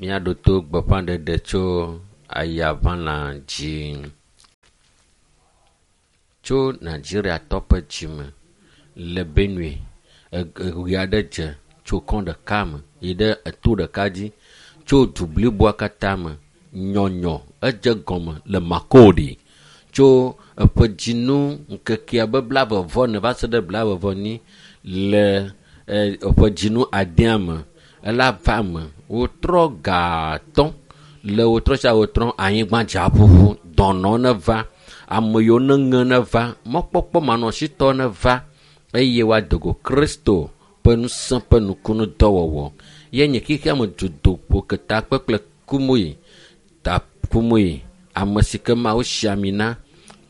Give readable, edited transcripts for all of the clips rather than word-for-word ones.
Míaɖo to gbeƒãɖeɖe tso ayaʋãlã dzi. Tso Nigeriatɔ ƒe dzime le Benue, eɣe aɖe dze tso kɔ ɖeka me yi ɖe eto ɖeka dzi tso du bliboa katã me. Nyɔnyɔ edze gɔme le Makurdi tso eƒe dzinu ŋkekea be 40 va se ɖe 44 le eƒe dzinu adea me. Ela va me wotrɔ gatɔ le wotrɔ sia wotrɔ anyigba dza ƒuƒu dɔnɔ ne va ame yiwo ne ŋe ne va mɔkpɔkpɔ manɔsitɔ ne va eye woado go Kristo ƒe ŋusẽ ƒe nukunu dɔwɔwɔ. Ye nye xexea me dudoƒo ketakpe kple Kumuyi ta Kumuyi ame si ke Mawu si ami na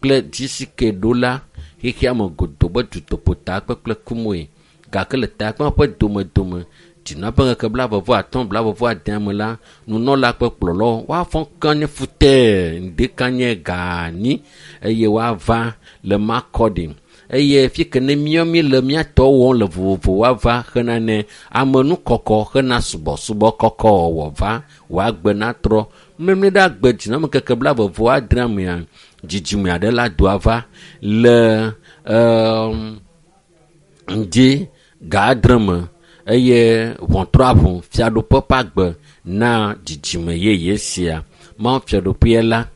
kple dzi si ke ɖo la xexea me godo be dutoƒo takpe kple Kumuyi gake le takpea ƒe domedome dzinua ƒe ŋkeke 35 40 me la nunɔla ƒe kplɔlawo woafɔ kanye futɛ ŋdekanye ganyi eye woava le Makurdi eye fi ke ne míawo mi le míatɔ wɔm le vovovo woava hena ne amenukɔkɔ hena subɔsubɔ kɔkɔ wɔwɔ va woagbe natrɔ mlɔe ɖe agbe dzinua me ŋkeke 80 mea dzidzime aɖe la doa va le ŋdi ga 7 me eye ʋɔtrɔ aʋu fiaɖuƒe ƒe agbe na dzidzime yeye sia. Mawu fiaɖuƒea la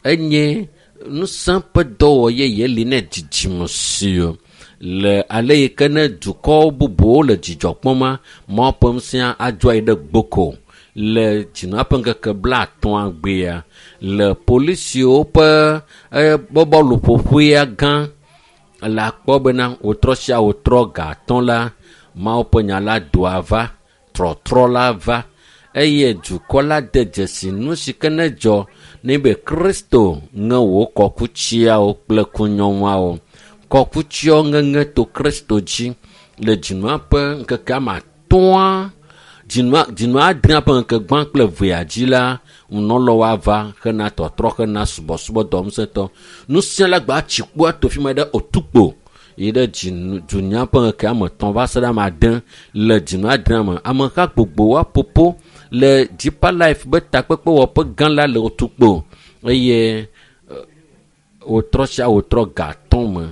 enye ŋusẽ ƒe dɔwɔ yeye li ne dzidzime si le ale yi ke ne dukɔ bubuwo le dzidzɔ kpɔm Mawu ƒe ŋusẽ adzɔ ayi ɖe gboko le dzinua ƒe ŋkeke 50 gbea le polisiwo ƒe bɔluƒoƒea gã le akpɔ bena wotrɔ sia wotrɔ gatɔ la Mawu ƒe nya la doa va trɔtrɔ la va eye dukɔ la de dzesi nu si ke ne dzɔ ne be Kristo ŋe wò kɔkutsiawo kple kunyɔŋuawo. Kɔkutsiawo ŋeŋe to Kristo dzi le dzinua ƒe ŋkeke ame atɔ̃a dzinua adrea ƒe ŋkeke gbã kple evea dzi la nunɔlawo ava hena tɔtrɔ hena subɔsubɔ dɔ ŋusẽtɔ. Nusia la gba tsi kpoa to fi ma ɖe otukpo yi ɖe dunya ƒe ŋkeke ame 3 va se ɖe ame 8 le dzinua adrea me. Ameha gbogbo woaƒoƒo le Deeper Life be takpekpe wɔƒe gã la le otukpo eye wotrɔ sia wotrɔ gatɔ me.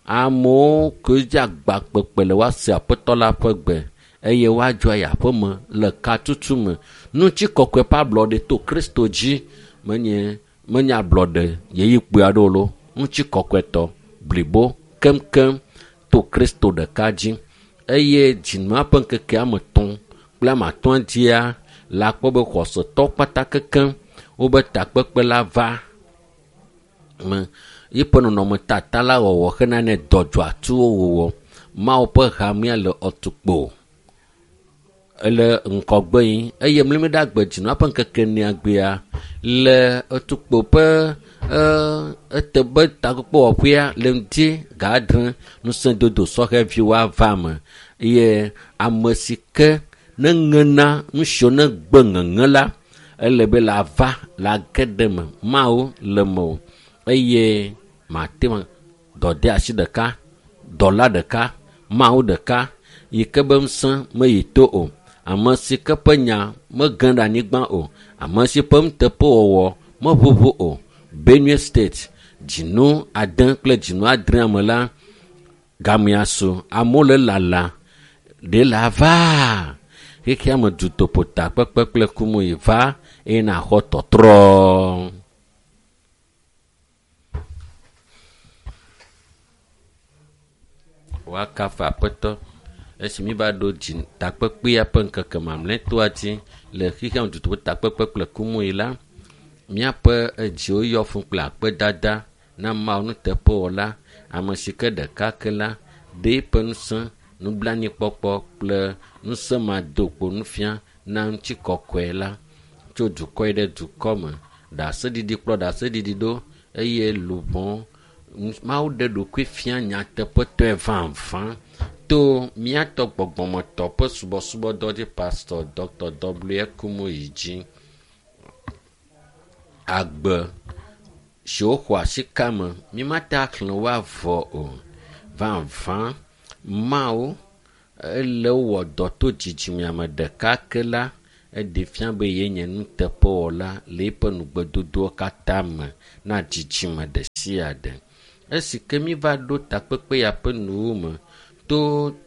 Amewo ke dze agba kpekpe le woase aƒetɔ la ƒe gbe eye woadzɔ ayi aƒeme le katutu me. Ŋutikɔkɔe ƒe ablɔɖe to Kristo dzi menye ablɔɖe ɣeyiɣi kpui aɖewo loo. Ŋutikɔkɔetɔ blibo keŋkeŋ to Kristo ɖeka dzi eye dzinua ƒe ŋkeke ame 3 kple ame 5 dzia le akpɔ be xɔsetɔ kpata kekeŋ wobe takpekpe la va me. Yiƒe nɔnɔmetata la wɔwɔ hena ne dɔdzɔatuwo wɔwɔ. Mawu ƒe hamea le ɔtukpo ele ŋkɔgbe yi eye mlɔe ɖe agbe dzinua ƒe ŋkeke 4 gbea le otukpo ƒe etebe takpekpe wɔƒea le ŋdi ga 7 ŋusẽdodo sɔhɛviwo ava me eye ame si ke ne ŋena nu siwo ne gbe ŋeŋe la ele be la va la ge ɖe me. Mawu le me o eye mate ŋu dɔdeasi ɖeka, dɔla ɖeka, Mawu ɖeka yi ke be ŋusẽ meyi to o. Ame si ke ƒe nya mege ɖe anyigba o. Ame si ƒe nuteƒewɔwɔ meʋuʋu o. Benue State dzinu 8 kple dzinu 8 me la gamea su amewo le lala ɖe la va xexea me dutoƒo takpekpe kple Kumuyi va eye naxɔ tɔtrɔ. Woakafu aƒetɔ esi mi va ɖo dzi takpekpea ƒe ŋkeke mamlɛtɔa dzi le xexea me dutoƒo takpekpe kple Kumuyi la míaƒe edziwo yɔ fũ kple akpedada na Mawu nuteƒewɔla ame si ke ɖeka ke la ɖe eƒe ŋusẽ nublanuikpɔkpɔ kple ŋusẽ madokpo nufia na ŋutikɔkɔe la tso dukɔ yi ɖe dukɔ me. Ɖaseɖiɖi kplɔ ɖaseɖiɖi ɖo eye luʋɔ Mawu ɖe ɖokui fia nyateƒetɔe vavã to míatɔ gbɔgbɔmetɔ ƒe subɔsubɔdɔ dzi Pastor Dr. W. Kumuyi dzi. Agbe siwo xɔ asi ka me mímate axlẽ wo avɔ o. Vavã Mawu ele wɔ dɔ to dzidzimea me ɖeka ke la Eɖe fia be yenye nuteƒewɔla le eƒe nugbedodowo katã me na dzidzime ɖe sia ɖe. Esi ke mi va ɖo takpekpe ya ƒe nuwo me to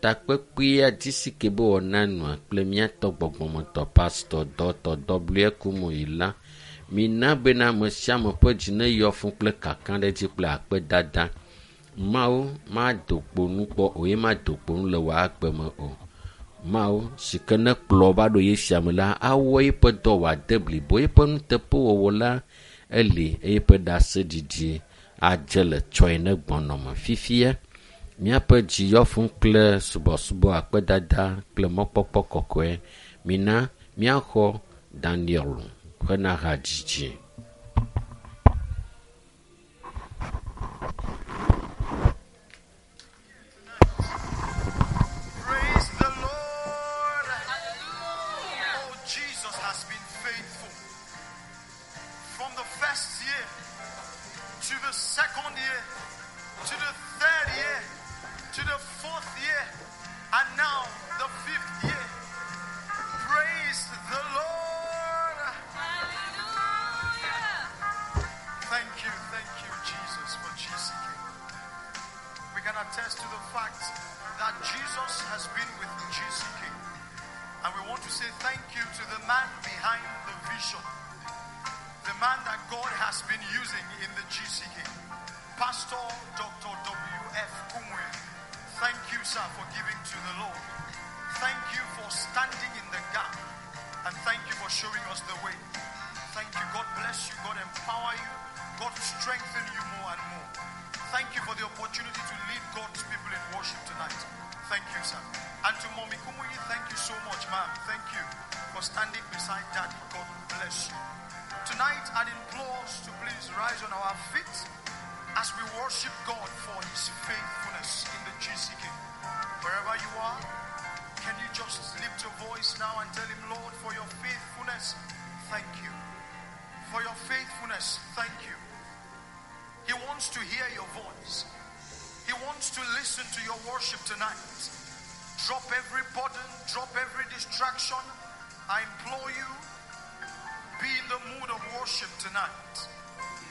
takpekpea dzi si ke be wɔna nua kple míatɔ gbɔgbɔmetɔ pastor dɔtɔ W. Kumuyi la, mina bena ame sia ame ƒe dzi neyɔ fũ kple kakaɖedzi kple akpedada. Mawu mado kpo nu kpɔ o ye mado kpo nu le wò agbe me o. Mawu si ke ne kplɔ va ɖo ye sia me la, awɔ eƒe dɔ wòade blibo. Eƒe nuteƒewɔwɔ la eli eye eƒe ɖaseɖiɖi adze le tsɔe ne gbɔnɔme fifia. Míaƒe dzi yɔ fũ kple subɔsubɔ, akpedada kple mɔkpɔkpɔ kɔkɔe. Mina míaxɔ Daniel ƒe hadzidzi. Praise the Lord. Oh, Jesus has been faithful. From the first year to the second year, to the third year, to the fourth year, and now the fifth year. Praise the Lord. Thank you, Jesus, for GCK. We can attest to the fact that Jesus has been with GCK. And we want to say thank you to the man behind the vision, the man that God has been using in the GCK, Pastor Dr. W.F. Kumuyi. Thank you, sir, for giving to the Lord. Thank you for standing in the gap. And thank you for showing us the way. Thank you. God bless you. God empower you. God strengthen you more and more. Thank you for the opportunity to lead God's people in worship tonight. Thank you, sir. And to Mommy Kumuyi, thank you so much, ma'am. Thank you for standing beside Daddy. God bless you. Tonight, I'd implore us to please rise on our feet as we worship God for his faithfulness in the GCK. Wherever you are, can you just lift your voice now and tell him, Lord, for your faithfulness, thank you. For your faithfulness, thank you. He wants to hear your voice. He wants to listen to your worship tonight. Drop every burden, drop every distraction. I implore you, be in the mood of worship tonight.